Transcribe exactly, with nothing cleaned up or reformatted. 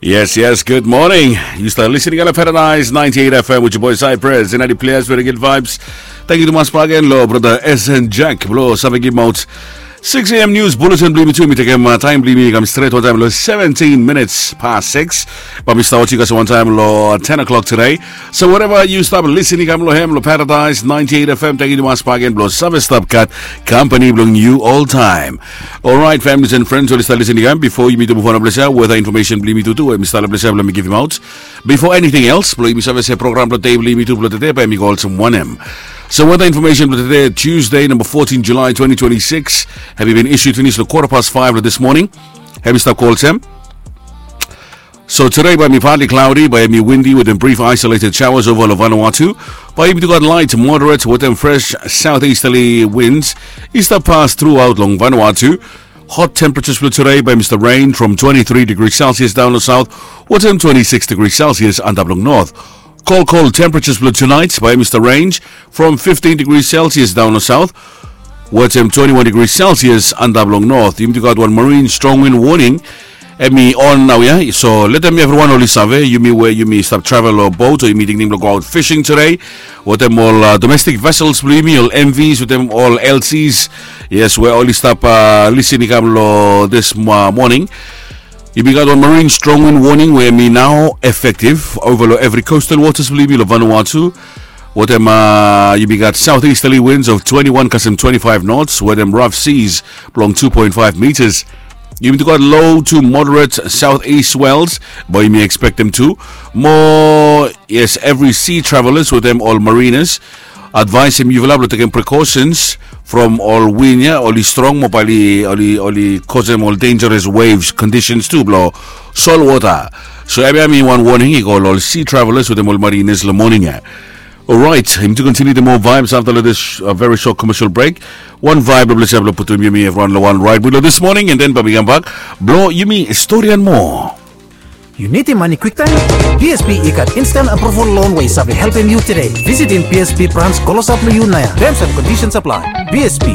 Yes, yes, good morning. You start listening on Paradise ninety-eight F M with your boy Cypress and Eddie Players with the good vibes. Thank you to Mas Pagen, lo brother S N Jack, blo save give out six a.m. news bulletin bli mi tu mi tekem uh, time bli mi kam straight one time lo seventeen minutes past six. But mi start you guys one time lo ten o'clock today. So wherever you start listening, I'm lo him lo Paradise ninety-eight F M. Thank you to Mas Pagen, blo save stop cut company blo you all time. Alright, families and friends, oli start listening again. Before you meet the Mufana Blesser, weather information bli mi tu tu, we mi start Blesser blo mi give him out. Before anything else, blo mi save se program blo day bli mi tu blo today, by mi call some one M. So weather information blo today, Tuesday, number fourteen July twenty twenty-six. Have you been issued finish the quarter past five of this morning? Have you start call Sam? So today by me partly cloudy, by me windy with a brief isolated showers over Vanuatu. By me got light, moderate with them fresh southeasterly winds. Is the pass throughout long Vanuatu. Hot temperatures for today by Mister Rain from twenty-three degrees Celsius down the south, with them twenty-six degrees Celsius and up long north. Cold, cold temperatures for tonight by Mister Range from fifteen degrees Celsius down the south, with them twenty-one degrees Celsius and up long north. You got one marine strong wind warning. Emi on now, yeah. So let them everyone oli save. You me where you me stop travel or boat or you me thinking to go out fishing today. With them all uh, domestic vessels, believe me, all M Vs, with them all L Cs. Yes, we're only stop uh, listening come lo this uh, morning. You be got one marine strong wind warning where me now effective over lo every coastal waters, believe me, lo Vanuatu. With them, uh, you be got southeasterly winds of twenty-one custom twenty-five knots, with them rough seas belong two point five meters. You be got low to moderate southeast swells, but you may expect them to. More, yes, every sea travelers with them all mariners. Advice him you will have taken precautions from all wind, yeah, oli strong mo pali oli oli cause them all dangerous waves conditions too, blo salt water. So every I mean one warning, he call all sea travelers with them all mariners lo morning, yeah. All right, him to continue the more vibes after this uh, very short commercial break. One vibe of Blessed Putum Yumi everyone lo one right below this morning, and then Babi Gambak, blo Yumi story and more. Yu nidim mane kwiktaem? P S B i gat instant approval loan we i save helpem yu today. Visitim P S B branch klosap lo yu naoia. Terms and conditions apply. P S B,